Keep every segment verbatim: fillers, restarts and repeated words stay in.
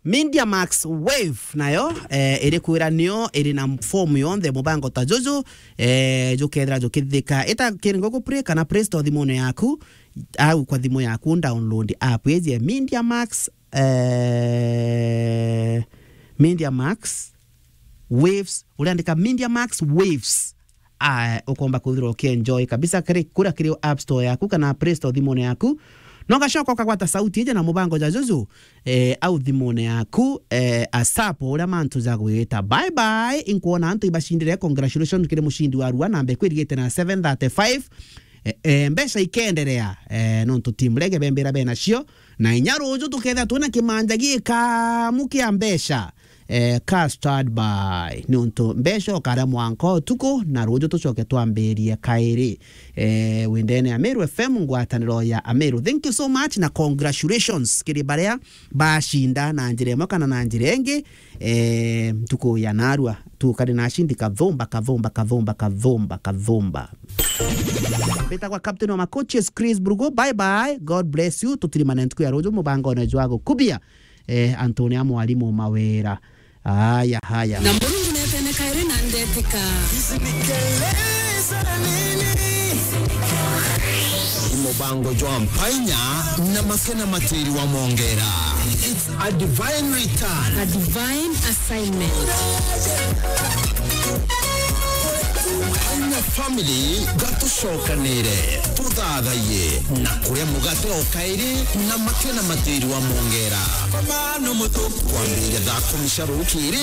Media Max Wave nayo, eh, iri kwira nio iri na form yonthe mubango ta juju, eh, jukethira jukithithika. Ita kiringo ku Play kana Play Store thimune yaku, au kwa thimu yaku download app iji ya Media Max, eh, Media Max Waves, uriandika Media Max Waves. Ah, ukomba kwithirwa ukienjoy kabisa kiri, kuria kiri App Store yaku kana Play Store thimune yaku. No gacoka ukagwata sauti iji na mubango ja juju, eh, au thimune yaku, eh, asapo uria mantu ja gwita. Bye bye, inkwona antu ibacindire. Congratulations kiri mucindi wa rua namba ikwirigite na seven thirty-five. Eh, eh, mbeca ikenderea, eh, nontu team Rege bembira benacio, na inya ruju tukethira twina kimanja gikamu kia mbeca. Eh, ka stand by, niuntu mbeca ukaria mwanka utuku, na ruju tucoke twambirie kairi. Eh, windene Ameru F M, ngwataniro ya Ameru. Thank you so much na congratulations kiri baria bacinda na njira imwe kana na njira ingi. Eh, ntuku ya narua tukari na acindi kathumba, kathumba, kathumba, kathumba, kathumba. Mbitagwa captain wa ma coaches Chris Brugo. Bye bye, God bless you. Tutirimane ntuku ya ruju mubangone jwa gukubia, eh, Antonia mwarimu Mawira. Haya, haya. Na Murungu netene kairi na ndetika. Ni mubango jwa mpainya na makena matiri wa mongera. It's a divine return. A divine assignment. Mpainya family, gatucokanire, tuthathaiye na kuria mugate o kairi na makena matiri wa mongera. Kwambiriria thaa kumi cia rukiri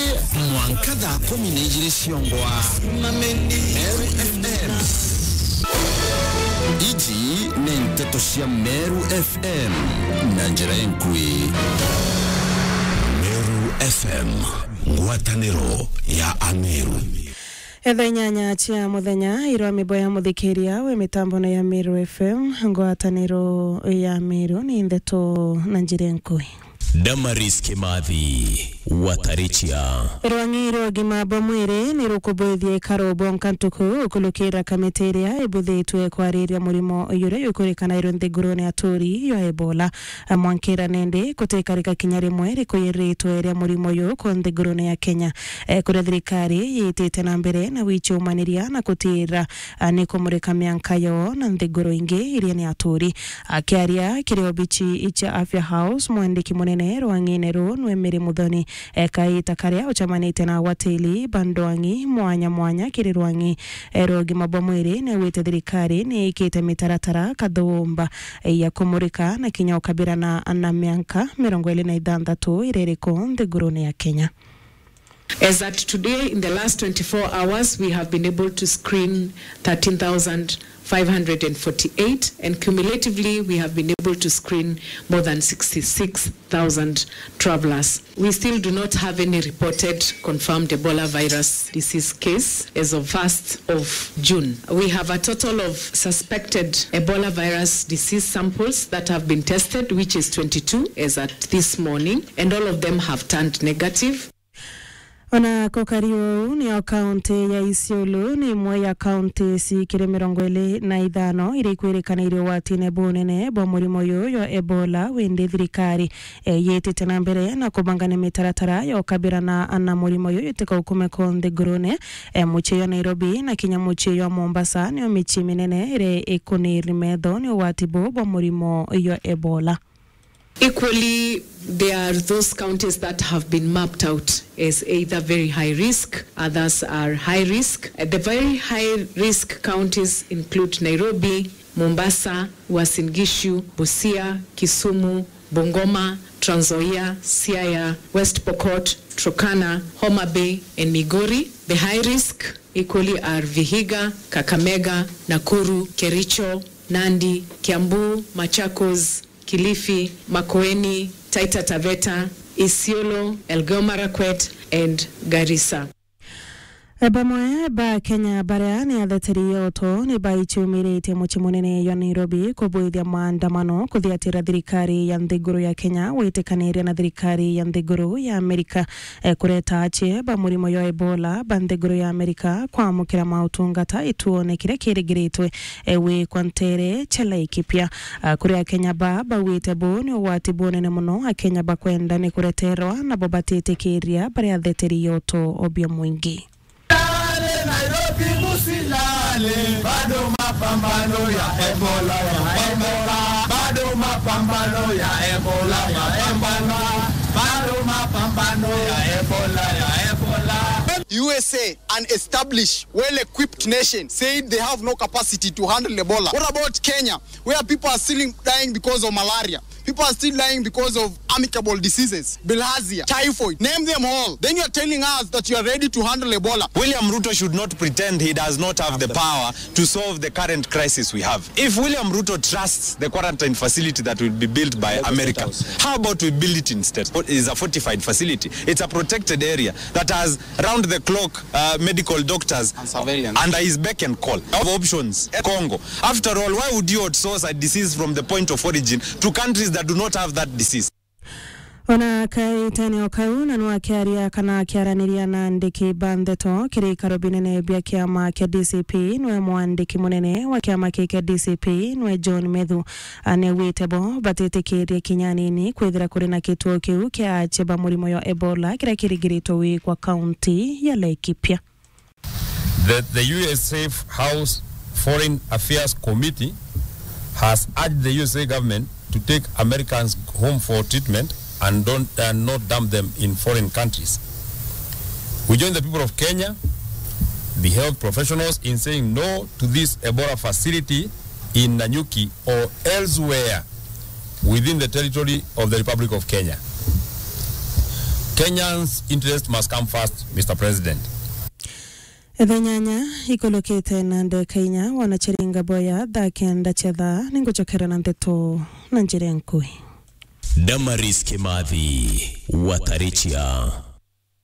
mwanka thaa kumi na ijiri ciongwa. Meru F M. Iji ni nteto cia Meru F M na njira inkui. Meru F M, ngwataniro ya Ameru. Etha inyanya cia muthenya, irwa miboya muthikiria we mitambone ya Meru F M, ngwataniro ya Meru, ni ndeto na njira inkui. Damaris Kimathi, Watarichia. Rwang'i rwa ugima bwa mwiri ni rukubwithia ikaro bwonka ntuku ukulukira kamiti iria ibuthitwe kwariria murimo uyu uria ukurikana iru nthigurune ya turi ya Ebola. Mwankira nindi kutikarika kinya rimwe rikuyiritwe ria murimo uyu ku nthigurune ya Kenya. Eh, kuria thirikari yitite na mbere na wichumaniria na kutira, ah, ni kumurika mianka yo na nthiguru ingi iria ni aturi. Akiaria kiri obichi icha Afya House, mwandiki munene rwang'ine ruu nwe Mary Muthoni, eh, kaita karia ucemanitie na agwatiri ba ndwang'i mwanya mwanya kiri rwang'i, eh, rwa ugima bwa mwiri, ni augite thirikari ni ikite mitaratara kathumba, eh, ya kumurika na kinya ukabirana na mianka mirongo iri na ithanthatu iria iri ku nthigurune ya Kenya. As at today, in the last twenty-four hours, we have been able to screen thirteen thousand five hundred and forty-eight, and cumulatively, we have been able to screen more than sixty-six thousand travelers. We still do not have any reported confirmed Ebola virus disease case as of first of June. We have a total of suspected Ebola virus disease samples that have been tested, which is twenty-two as at this morning, and all of them have turned negative. Ona kukari uu, niyo kaunti ya Isiolo ni imwe ya kaunti cikiri mirongo iri na ithano iria ikwirikana iri ugwatine bunene bwa murimo uyu jwa Ebola, windi thirikari, eh, yitite na mbere na kubangania mitaratara ya ukabirana na murimo uyu itikaukume ku nthigurune. Eh, mucii jwa Nairobi na kinya mucii jwa Mombasa niyo micii minene iria ikuniri metho ni ugwati buu bwa murimo jwa Ebola. Equally, there are those counties that have been mapped out as either very high risk, others are high risk. Uh, the very high risk counties include Nairobi, Mombasa, Uasin Gishu, Busia, Kisumu, Bungoma, Trans Nzoia, Siaya, West Pokot, Turkana, Homa Bay, and Migori. The high risk equally are Vihiga, Kakamega, Nakuru, Kericho, Nandi, Kiambu, Machakos, Kilifi, Makueni, Taita Taveta, Isiolo, Elgeyo Marakwet, and Garissa. Bamwe ba Kenya baria ni atheteri yoto ni baicumiritie mucii munene jwa Nairobi kubwithia maandamano kuthiatira thirikari ya nthiguru ya Kenya gwitikaniria na thirikari ya nthiguru ya Amerika, eh, kureta acie ba murimo jwa Ebola ba nthiguru ya Amerika kwamukira mautungata ituone kiria kirigiritwe, eh, gwikwa ntere cia Laikipia. Ah, kuri Akenya ba baugite buu ni ugwati bunene muno. Akenya bakwenda ni kureterwa, nabo batitikiria bari atheteri yoto obia mwingi. Lale, Nairobi musilale, bado mapambano ya Ebola, ya Ebola, bado mapambano ya Ebola, ya Ebola, bado mapambano ya Ebola, ya Ebola. U S A, an established, well-equipped nation, said they have no capacity to handle Ebola. What about Kenya, where people are still dying because of malaria? People are still dying because of amicable diseases, bilharzia, typhoid, name them all. Then you are telling us that you are ready to handle Ebola. William Ruto should not pretend he does not have the power to solve the current crisis we have. If William Ruto trusts the quarantine facility that will be built by America, how about we build it instead? It is a fortified facility. It's a protected area that has round the clock, uh, medical doctors and surveillance under his beck and call. Of options, Congo. After all, why would you outsource a disease from the point of origin to countries that do not have that disease? Ona kaitene o kau, na nwakiaria kana akiaraniria na andiki ba ndeto kiri ikaro binene bia kiama kia D C P, nwe mwandiki munene wa kiama kii kia D C P, nwe John Methu, anewite bo batitikirie kinya anini kwithira kuri na kituo kiu kia acie ba murimo jwa Ebola kiria kirigiritwe gwikwa kaunti ya Laikipia. That the U S Safe House Foreign Affairs Committee has urged the U S A government to take Americans home for treatment and don't, and not dump them in foreign countries. We join the people of Kenya, the health professionals, in saying no to this Ebola facility in Nanyuki or elsewhere within the territory of the Republic of Kenya. Kenyans' interest must come first, Mister President. Thaa inyanya ikulukite na ndeka inya, wanachiringa boya thaa kenda cia thaa, ningucokera na ndeto na njira nkui. Damaris Kimathi, Watarichia.